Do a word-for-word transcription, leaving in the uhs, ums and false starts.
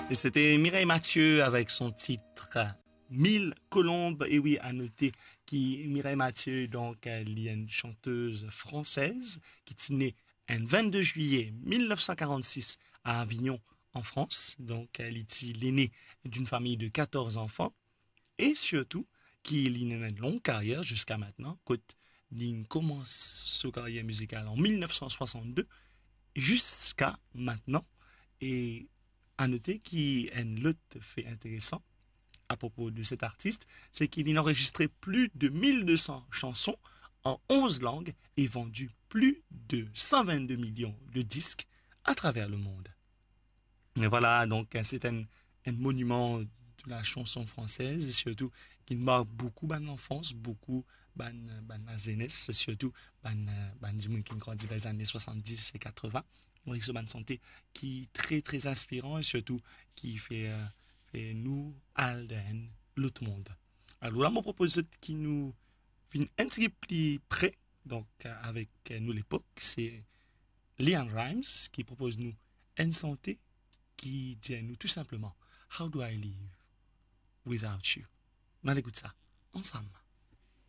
E sete Mireille Mathieu avek son tit Mille Colombes. E wi, a note ki Mireille Mathieu, donk, euh, li enn chantez fransez ki ti ne enn vennde zilye mil nef san karannsis a Avignon, an Frans. Donk, euh, li ti lene d'une famille de quatorze enfants. E sirtou ki li ena enn long karyer ziska mintnan, kot li koumans so karyer mizikal an mil nef san swasannde ziska mintnan. E a note ki enn lot fe interesan apropo de set artis, se ki li anrezistre pli de mil de san chanson an onz lang e vandi pli de san vennde milion de disk atraver lemond. E vwala, donk, se enn, enn moniman de la chanson fransez, e sirtou ki mark boukou bann lanfans, boukou bann, bann lazenes, sirtou bann, bann dimoun ki grandi dan lezane swasanndis e katreven. Donk, so bann sante ki tre, tre inspiran e sirtou ki fer, fer nou al dan enn lot mond. Alor la, mo propoz zot ki nou vinn enn tigit pli pre, donk, avek nou lepok, se LeAnn Rimes ki propoz nou enn sante ki dir nou tou sinpleman, "How do I live without you?" Nou al ekout sa ansam.